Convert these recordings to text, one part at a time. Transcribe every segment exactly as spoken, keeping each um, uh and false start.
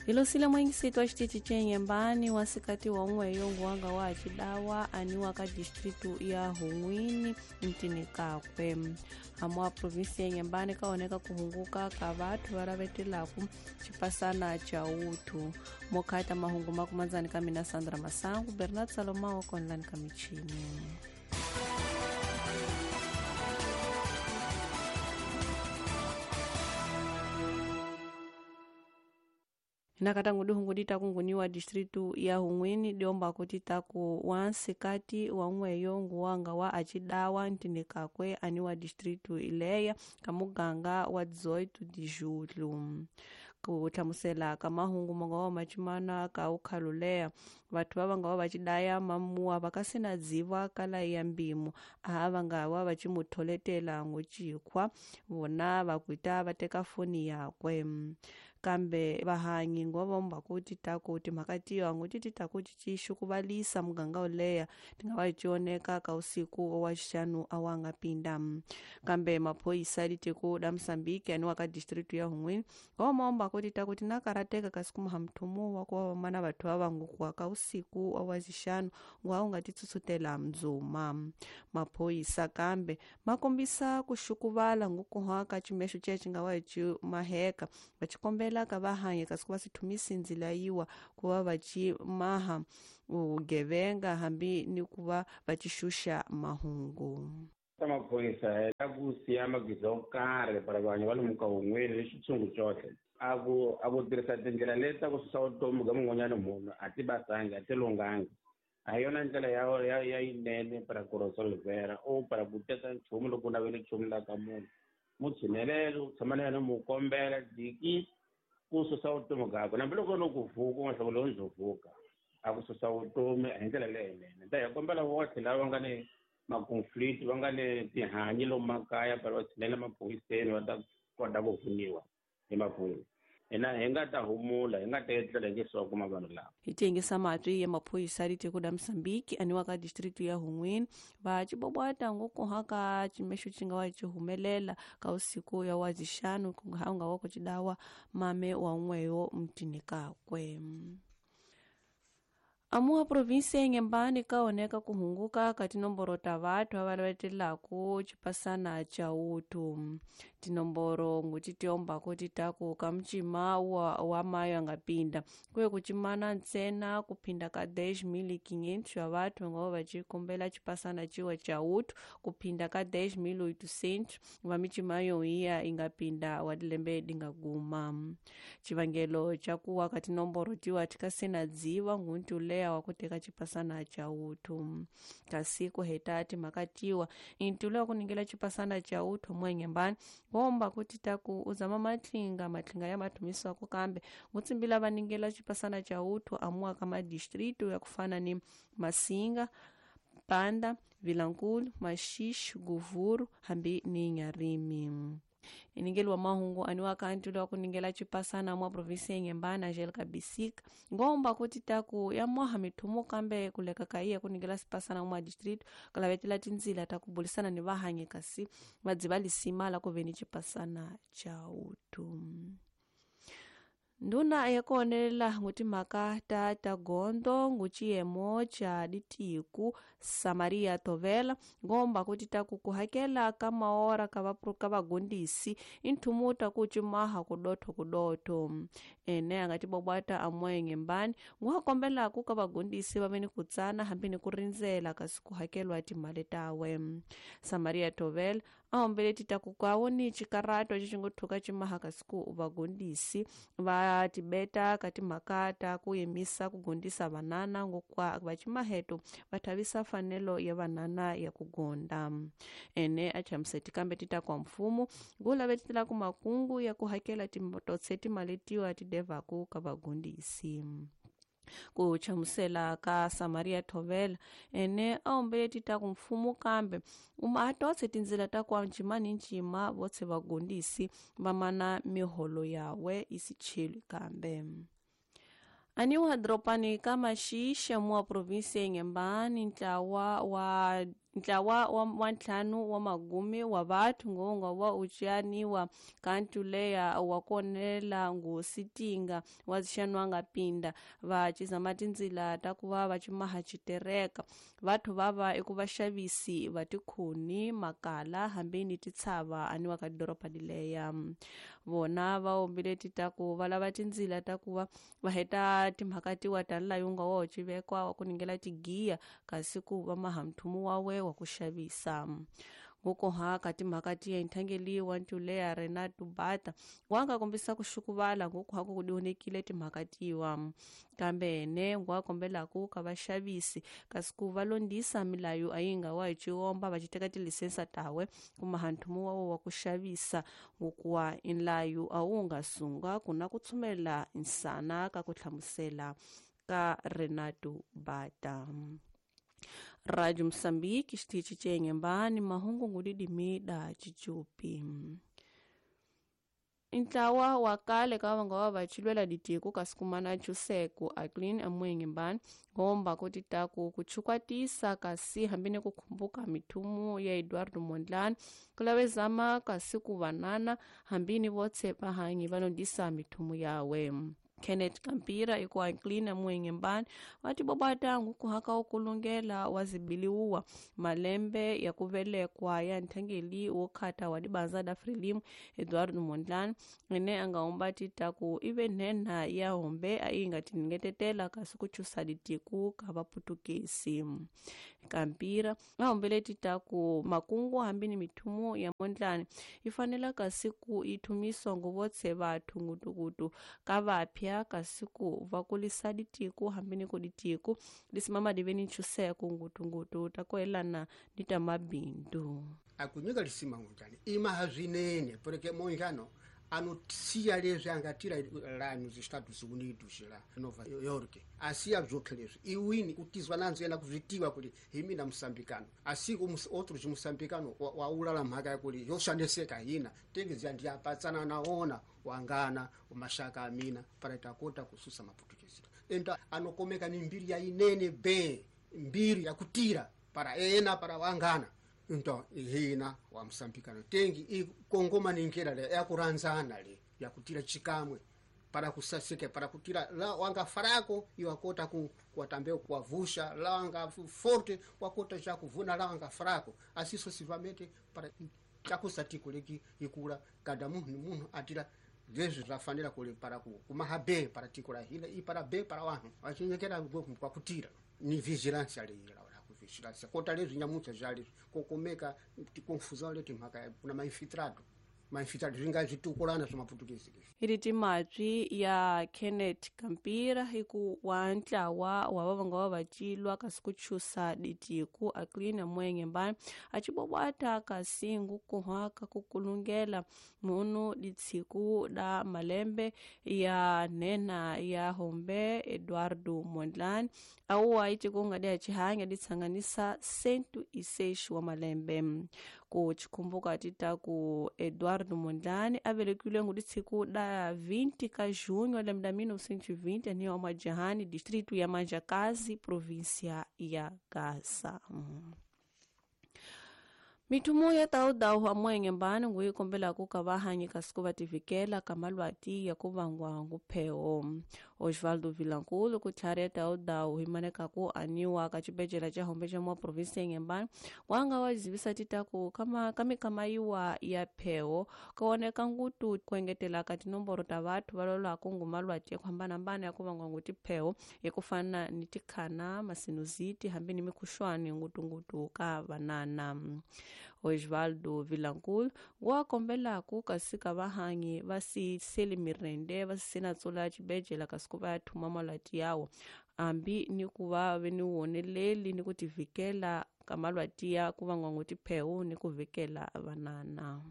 Hilosile mwengisito wa xitichi ce Nyembani wa sikati wa un'we yo nguwanga wa xidawa aniwa ka distritu ya Hun'wini mtini kakwe. Hamwa provinsi ya Nyembani kaoneka kuhunguka ka vathu va lavetelaku xipasana cha uthu. Mokhata mahungu makumanzani ka mina Sandra Masangu, Bernard Salomao konlani ka michini. Nakatangu duhungu dita kunguniwa distritu ya Hun'wini diomba kuti taku wansikati wa un'weyo nguwanga wa acidawa ntinikakwe aniwa distritu ileya kamuganga wa dezoito de julho. Ku hlamusela ka mahungu manga wa machimana ka ukhaluleya vathu va vanga va va cidaya mamuwa va ka sina dziva kala ya mbimu aha va nga wa va cimutholetela ngucikhwa vona va kuita va teka foni yakwe. Kambe vahanyi ngo vomba kuti taku timhaka tiyo ngo ti taku ti xukuvalisa muganga uleya ti nga va cioneka ka usiku wa xixanu a wa nga pinda. Kambe maphoyisa litiko la Mozambique aniwa ka distritu ya Hun'wini ngo momba kuti taku ti na karateka kasi kumaha mthumu wa ku va mana vathu va vangukuwa ka usiku wa xixanu ngo a wu nga ti tsutsutela mdzuma. Maphoyisa kambe ma kombisa ku xukuvala ngukuha ka ximexo ce xi nga wa ci maheka va xikombela ka vahanya kasi ku va sithumisi ndzila yiwa ku va va ci maha vugevenga hambi ni ku va va ci xuxa mahungu. Ta maphorisa ta ku siya magiza yo karhi para vanhu va lomu ka Hun'wini ni xitshungu cohle a ku a ku tirhisa tindlela leti ta ku susa vutomi bya mun'wanyana munhu a ti basangi a ti lunghangi. A hi yona ndlela ya ya ya yinene para ku resolvera o para ku teka nchumu loko u navele nchumu la ka munhu mu tshinelele u tshama na yena mu kombela diki ku susa vutomi byakwe hambiloko no ku vuka u nga hlawuli lowu ndzo vuka a ku susa vutomi hi ndlela leyinene. Ta hi kombela votlhe lava nga ni ma-conflict va nga ni tihanyi lomu makaya para va tshinela maphoyiseni va ta kota ku pfuniwa hi maphorisa. Hina hi nga ta humula hi nga ta etlela hi nge swa kuma vanhu lava. Hi tiyingisa matwi ya maphorisa litiko la Mozambique aniwa ka distritu ya Hun'wini va cibobwata ngukuha ka ximexo xi nga wa ci humelela ka usiku ya wa zixanu ku nga nga wa ku cidawa mame wa un'weyo mtini kakwe. Amuha provinsi ya Nyembani kaoneka kuhunguka ka tinomboro ta vathu va lavetelaku xipasana cha uthu. Tinomboro nguti tiomba kuti taku ka mcima wa, wa mayo anga pinda kuye kucimana ntsena kuphinda ka dez mil e quinhentos ya vathu nga va cikombela xipasana ciwa cha uthu kuphinda ka dez mil oitocentos va micima yo iya inga pinda wa dilembe dinga guma. Xivangelo xa kuwa ka tinomboro tiwa tikasena dziva ngunti uleya wa ku teka xipasana cha uthu. Kasi ku heta timhaka tiwa intulo ya ku ningela xipasana cha uthu mwenyembani ngomba kuti taku uzama matlinga matlinga ya mathumiswako kambe ngutsimbila va ningela xipasana cha uthu amuwa ka madistritu ya kufana ni Masinga, Panda, Vilankulu, Maxixi, Guvuru hambi ni Nyarimi. Iningeli wa mahungu aniwa kanti wa kuningela chipasana mwa provinsi ya Nyembani Angelica Bisika ngomba kuti taku ya mwaha mithumu kambe kuleka kaiya kuningela sipasana mwa district kalavetela tindzila ta kubulisana ni vahanye kasi vadziva lisima la kuveni chipasana cha uthu. Nduna ya kuonelela ngutimhaka ta ta gondo nguciyemo cha ditiku Samaria Tovela ngomba kuti taku kuhakela ka maora ka vapru ka vagondisi inthumu ta ku cimaha kudotho kudotho. Ene a nga tibobwata amwe Nyembani nguhakombelaku ka vagondisi va ve ni ku tsana hambi ni ku rindzela kasi ku hakelwa timali tawe. Samaria Tovela a hombele ti taku kwawo ni xikarato xi ngo thuka cimaha kasi ku vagondisi va tibeta ka timhaka ta ku yimisa ku gondisa vanana ngokwa va cimaheto va thavisa fanelo ya vanana ya ku gonda. Ene a chamuseti kambe ti ta kwa mfumo ngulavetela ku makungu ya ku hakela timototse timali tiwa ti devaku ka vagondisi. Ku chamusela ka Samaria Tovela ene a hombele ti ta ku mfumo kambe uma a totse tindzila ta kwa ncima ni ncima votse vagondisi va mana miholo yawe isicheli kambe. Aniwa dropani ka Maxixa mua provinsi ya Nyembani ntlawa wa Ntlawa wa ntlhanu wa magumi wa vathu ngonga wa ucianiwa kantu leya wa konela ngusitinga wa zixanwanga pinda va cizama tindzila ta ku va va cimaha citereka vathu vava eku vaxavisi va tikhuni makala hambi ni titshava aniwa ka doroba lileya vona va ombile ti ta ku va lava tindzila ta ku va va heta timhaka tiwa ta layunga wa civekwa wa ku ningela tigiya kasi ku va maha mthumu wawe wa ku xavisa ngokoha ka timhaka tiya nthangeliwa ntuleya Renato Bata wanga kombisa ku xukuvala ngokuha ku dionekile timhaka tiwa kambe ne ngwa kombelaku ka vaxavisi kasi ku va londisa milayo ayinga wa hi ciomba va citeka tilisensa tawe kumaha nthumu wawo wa ku xavisa ngokuwa inlayo a wu nga sunga kuna ku tshumela insana ka ku hlamusela ka Renato Bata. Radio Msambiki xitichi cenyembani mahungu ngudidimi da chichupi. Ntlawa wa kale ka vanga wa vachilwela ditiko kasi kumana chuseko aklin amwenyembani ngomba kuti taku kuchukwatisa kasi hambine kukhumbuka mithumu ya Eduardo Mondlane kulavezama kasi kuvanana hambini votse vahanyi vanodisa mithumu yawe. Kenneth Kampira ikuwa nklina mwenyembani wati bobatangu kuhaka ukulungela wazibiliuwa malembe ya kuvelekwa ya nthangeli wokhata wa dibanza da Frelimu Eduardo Mondlane ene angaomba titaku ive nhenha ya hombe ainga tiningetetela kasi kuchusa ditiku ka vaputukisi. Kampira aombele titaku makungu hambini mithumu ya Mondlane ifanela kasi ku ithumiswa nguvotse vathu ngutukutu ka vapya kasi ku va kulisa ditiku hambini ku ditiku lisimama diveni nchuseko ngutungutu takoelana ni ta mabindu akunyika lisima Mondlane imaha zwinene porque Mondlane anotsiya leswi angatira la nos Estados Unidos la Nova York asiya bzokhe leswi iwini kutizwa nanzo yena kuzvitiwa kuti hi mina musambikano asi outros musambikano waulala mhaka yakuli yoshaneseka hina tengezi ndiyapatsana naona wangana mashaka amina para takota kususa maputukezi enta anokomeka ni mbiri ya inene be mbiri ya kutira para ena para wangana into hina wa msambikano tengi ikongoma ningera le yakuranzana le yakutira chikamwe para kusasike para kutira la wanga farako iwakota ku kuwatambeo kuwavusha la wanga forte wakota cha kuvuna la wanga farako asiso sivamete para chakusatiko leki ikula kada munhu munhu atira leswi zvafanira kule para ku kumaha be para tiko la hina ipara be para wanhu vachinyekera kwa kutira ni vigilance ale ila vigilance kota leswi nyamucha zvali kokomeka tikonfusão leti mhaka kuna mainfiltrado mainfiltrado zvinga zvitukulana swa maputukezi iri timatswi ya Kenneth Kampira hiku wa ntlawa wa vavanga wa vacilwa kasi kuchusa ditiku aklina mwenyembani acibobwata kasi ngukuhaka kukulungela munu ditshiku da malembe ya nhenha ya hombe Eduardo Mondlane awuwa itikunga dia chihanya ditsanganisa sentu iseixo wa malembe ku chikhumbuka titaku Eduardo Mondlane avelekile nguditshiku da vinte ka junho lembe la mil novecentos e vinte aniwa Majahani distrito ya Manjakazi província ya Gaza. Mithumu ya tawudawu amwenyembani nguyi kombela ku ka vahanyi kasi ku va tivikela ka malwati ya ku vangwa ngupheo. Osvaldo Vilankulu ku tlhari ya tawudawu hi maneka ku aniwa ka xibedhlele xa hombe xa mwa provinsi ya Nyembani wanga wa zivisa titaku kama ka mikamayiwa ya pheo ka oneka ngutu ku engetela ka tinomboro ta vathu va lolwaku ngu malwati ya ku hambanahambana ya ku vangwa ngu tipheo ya ku fana ni tikhana masinusiti hambi ni mikhuxwani ngutungutu ka vanana. Osvaldo Vilankulu wa kombelaku kasi ka vahanyi va si seli mirende va si na tsula xibedhlele kasi ku va ya thuma malwati yawo hambi ni ku va ve ni woneleli ni ku tivikela ka malwati ya ku vangwa ngu tipheu ni ku vikela vanana.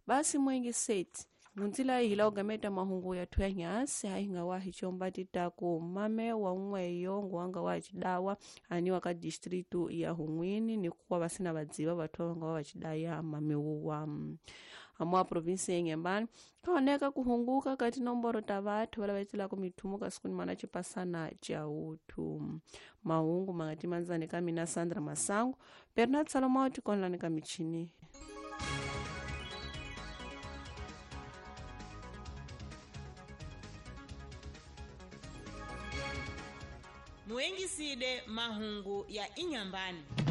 Basi mwengi seti ngunzila hila ugameta mahungu ya thuya nyasi hainga wa hichomba titaku mame wa n'weyo nguwanga wa chidawa aniwa ka distritu ya Hun'wini ni kuwa vasina vadziva vathu vanga wa vachidaya mame wuwa. Amu a província ya Inhambane kaoneka kuhunguka ka tinomboro ta vathu vala vaetelaka mithumo kasi kunimana cipasana ca uthu. Mahungu mangatimanzani ka mina Sandra Masango, Bernard Salomao tikonlani ka michini. Muengiside mahungu ya Inhambane.